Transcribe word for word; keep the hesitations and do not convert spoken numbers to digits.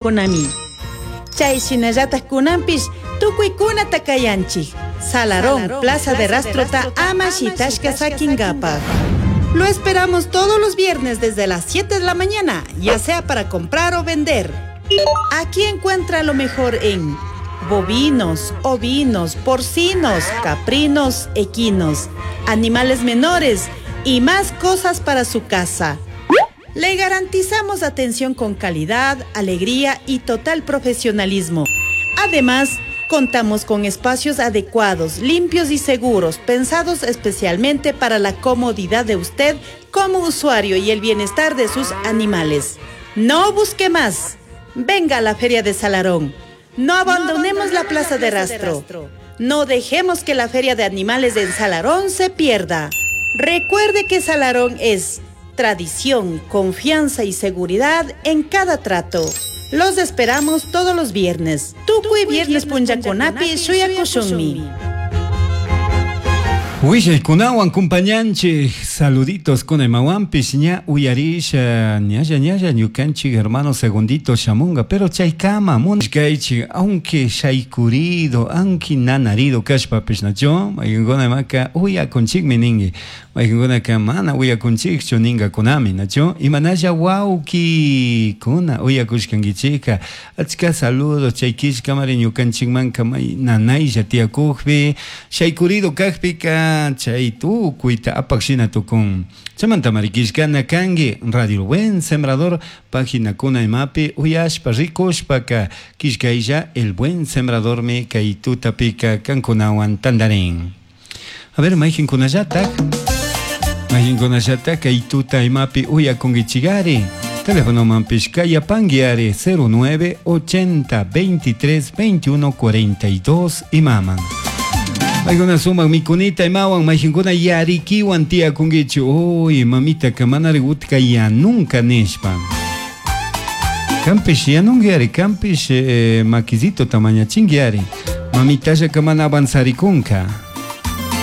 Konami. Chay shinallataj kunanpish tukuykunata kayanchik. Salarón, Plaza de Rastrota, ama shitashka sakinkapaj. Lo esperamos todos los viernes desde las siete de la mañana, ya sea para comprar o vender. Aquí encuentra lo mejor en bovinos, ovinos, porcinos, caprinos, equinos, animales menores y más cosas para su casa. Le garantizamos atención con calidad, alegría y total profesionalismo. Además, contamos con espacios adecuados, limpios y seguros, pensados especialmente para la comodidad de usted como usuario y el bienestar de sus animales. No busque más. Venga a la Feria de Salarón. No abandonemos la Plaza de Rastro. No dejemos que la Feria de Animales en Salarón se pierda. Recuerde que Salarón es tradición, confianza y seguridad en cada trato. Los esperamos todos los viernes. Tukuy viernes punllakunapi shuyakushunmi. Willaykunawan compañanchik, saluditos con imawanpish ña uyarisha ñalla ñalla ñukanchik hermano Segundito shamunga, pero chaykama munashkaychik, aunque shaykurido, aunque nanarido kashpapish, nacho mayqinkuna imaka uyakunchikmi ninki, mayqinkunaka mana uyakunchikchu ninkakunami, nacho imanalla wawkikuna uyakushkankichikka, achka saludos chay killkamari ñukanchikmanka may nanaylla tiyakukpi shaykurido kakpika chay tukuyta apak shina tukun. Chaymanta marikishkana kanki Radio Buen Sembrador paginakuna imapi uyashpa rikushpaka killkaylla El Buen Sembradormi kay tutapika kankunawan tandarin. A ver, mayqinkunallatak mayqinkunallatak kay tuta imapi uyakunkichikari. Teléfono manpish kayapanki ari cero nueve ochenta veintitrés veintiuno cuarenta y dos imaman. Maykuna sumak mikunita imawan, mayqinkuna yarikiwan tiyakunkichu. Uy, mamita ka manari utka yanunka nishpa. Kampish yanunki ari, kampish, eh, makisito tamañachinki ari. Mamitalla ka mana avanzarikunka.